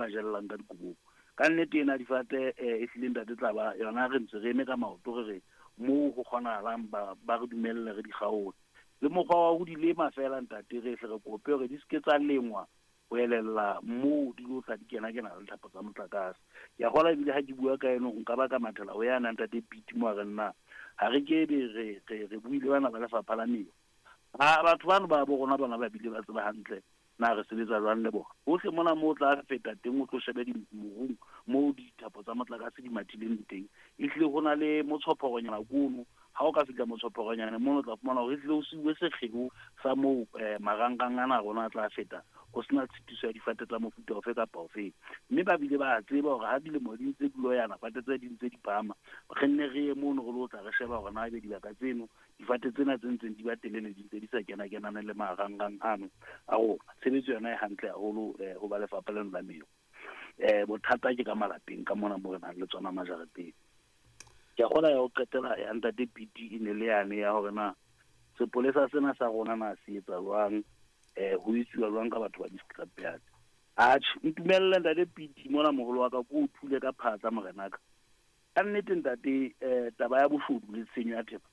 Ba jellang ka dikobong. Ka nnete ena difate e hlile ntate tla ba yona re ntse re eme ka maoto re re moo ho kgonahalang ba ba re dumelle re di kgaole. Le mokgwa wa ho di lema feela ntate re hle re kope hore di se ke tsa lengwa ho elella moo di lo tla di kena-kena le thapo tsa motlakase. Ke a kgolwa ebile ha ke bua ka eno nka ba ka mathela ho yane ntate Piti mo a re nna ha re ke be re re re buile bana ba lefapha la meru. Ha batho bano ba bo rona bona ba bile ba tseba hantle na re sebetsa jwang le bona. Hohle mona moo o tla feta teng o tlo shebe morung moo dithapo tsa motlakase di mathileng teng. Ehlile ho na le motshophorenyana kono. Ha o ka fihla motshophorenyana mono o tla fumana hore ehlile ho siuwe sekgeo sa moo marangrang ana a rona a tla feta ho sena tshitiso ya difate tsa mofuta ofe kapa ofe. Mme ba bile ba tseba hore ha dilemo di ntse di loyana, fate tse di ntse di phahama, re nne re ye mono re lo tla re sheba hore na ebe dibaka tseno difate tsena tse ntseng di ba telele di ntse di sa kena-kenane le marangrang ano a rona. Tshebetso yona e hantle haholo ho ba lefapha leno la meru. Bothata ke ka malapeng ka mona mo re nang le tsona majareteng. Ke a kgolwa ya ho qetela ya ntate Piti e ne le yane ya hore na sepolesa sena sa rona na se etsa jwang, ho etsuwa jwang ka batho ba di-scrapyard. Atjhe, ntumelle ntate Piti mona moholo wa ka ko o thule ka phatla morenaka. Ka nnete ntate taba ya boshodu le tshenyo ya thepa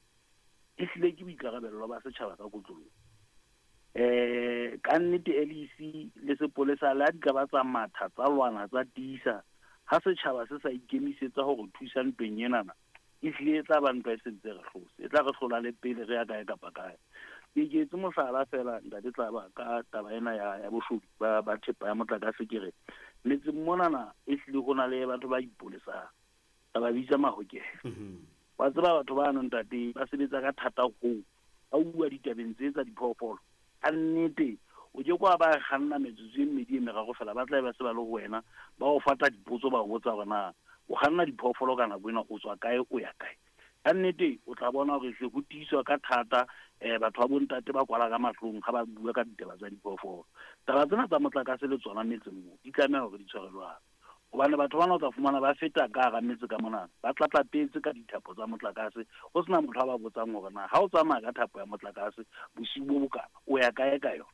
e hlile ke boikarabello ba setjhaba ka kotloloho. Ka nnete LEC le sepolesa le ha di ka ba tsa matha tsa lwana tsa tiisa ha setjhaba se sa ikemisetsa hore thusa ntweng enana e hlile e tla ba ntwa e sentse re hlotse, e tla re hlola le pele re ya kae kapa kae. Ke ke etse mohlala fela ntate Tlaba ka taba ena ya boshodu ba thepa ya motlakase. Ke re metseng monana e hlile ho na le batho ba ipolesang, re ba bitsa mahokela. Wa tseba batho bano ntate ba sebetsa ka thata hoo ba bua ditabeng tse tsa diphoofolo. Ka nnete o ke kwa ba kganna metsotso e mmedi e meraro fela ba tla be ba se ba le ho wena, ba o fata dipotso, ba o botsa hore na o kganna diphoofolo ka nako ena o tswa kae o ya kae. Ka nnete o tla bona hore hle ho tiiswa ka thata batho ba bontate ba kwala ka mahlong ha ba bua ka ditaba tsa diphoofolo. Taba tsena tsa motlakase le tsona metseng mo di tlameha hore di tshware jwalo, hobane batho bana o tla fumana ba feta ka hara metse ka mona ba tlatlapetse ka dithapo tsa motlakase, ho sena motho a ba botsang hore na ha o tsamaya ka thapo ya motlakase bosiu bo bokana o ya kae ka yona,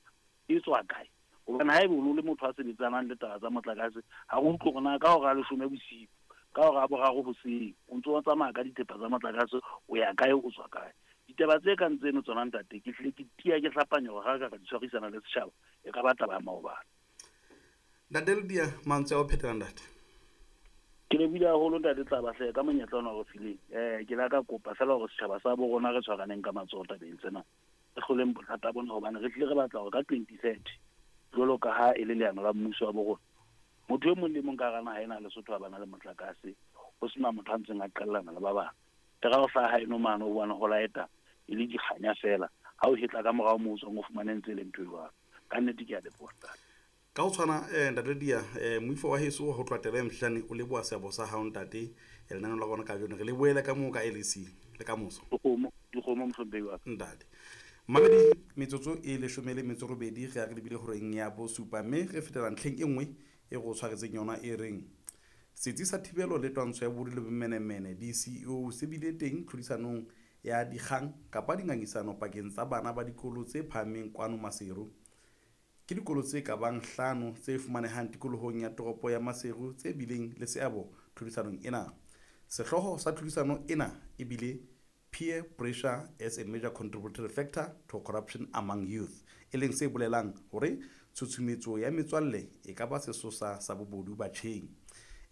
e tswa kae. Hobane ha ebe o no le motho a sebetsanang le taba tsa motlakase, ha o utlwe hore na ka hora ya 10 bosiu, ka hora ya 3 hoseng o ntso o tsamaya ka dithepa tsa motlakase o ya kae o tswa kae. Ditaba tse kang tseno tsona ntate ke hlile ke tiya ke hlapanya hore ha re ka ra di tshwarisana le setjhaba e ka ba taba ya maobane. Ntate Ledia, mantswe a ho phethela ntate. Ke lebohile haholo ntate Tlaba hle ka monyetla ona o re fileng. Ke la ka kopa fela hore setjhaba sa bo rona re tshwaraneng ka matsoho tabeng tsena, re hloleng bothata bona, hobane re hlile re batla hore ka 2030 jwalo ka ha e le leano la mmuso wa bo rona, motho e mong le mong ka hara naha ena ya Lesotho a bana le motlakase, ho sena motho a ntseng a qellana le ba bang. E ra ho hlaha haeno mane o bone ho laeta e le dikganya fela, ha o hetla ka morao moo o tswang o fumane ntse e le ntho e jwalo. Ka nnete ke a leboha ntate. Ka ho tshwana ntate Dia, moifo wa heso ho tloha taba e mhlane o leboha seabo sa hao ntate lenaneo la rona kajeno. Re le boele ka moo ka LEC le ka moso. Dikgomo, dikgomo mohlomphehi wa ka. Ntate. Mamedi metsotso e 18 re ya re lebile horeng ya bosupa, mme re fetela ntlheng e nngwe e re o tshwaretseng yona e reng Setsi sa Thibelo le Twantsho ya Bobodu le Bomenemene DCEO se bile teng tlhodisanong ya dikgang kapa dingangisano pakeng tsa bana ba dikolo tse phahameng kwano Maseru. Ke dikolo tse ka bang hlano tse fumanehang tikolohong ya toropo ya Maseru tse bileng le seabo tlhodisanong ena. Sehlooho sa tlhodisano ena e bile Peer Pressure as a Major Contributory Factor to Corruption Among Youth, e leng se bolelang hore tshutshumetso ya metswalle e ka ba sesosa sa bobodu batjheng.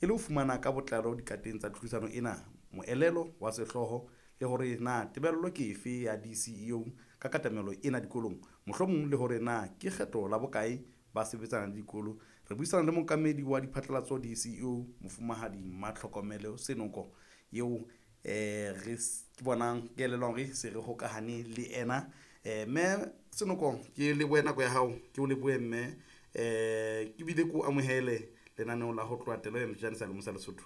E le ho fumana ka botlalo dikateng tsa tlhodisano ena, moelelo wa sehlooho le hore na tebello ke efe ya DCEO ka katamelo ena dikolong, mohlomong le hore na ke kgetho la bokae ba sebetsana le dikolo, re buisana le mookamedi wa diphatlalatso DCEO, Mofumahadi Mmatlhokomelo Senoko, eo re ke bonang ke elelwang hore se re hokahane le ena. Mme Senoko, ke lebohe nako ya hao, ke o lebohe mme ke bile ke o amohele lenaneo la ho tloha telo ya Mjane sa Lemosa Lesotho.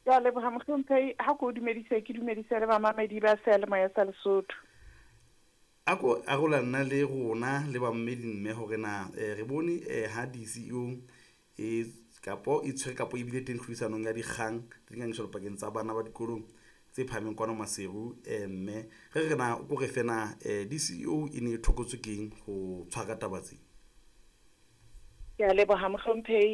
Ke a leboha mohlomphehi, ha ke o dumedise, ke dumedise le bamamedi ba seyalemoya sa Lesotho. A ko arolana le rona le bamamedi mme hore na re bone ha DCEO e kapo e tshwere kapo e bile teng tlhodisanong ya dikgang le dingangisano pakeng tsa bana ba dikolong tse phahameng kwano Maseru. Mme re re na o ko re fe na DCEO e ne e thokotswe keng ho tshwara taba tse? Ke a leboha mohlomphehi.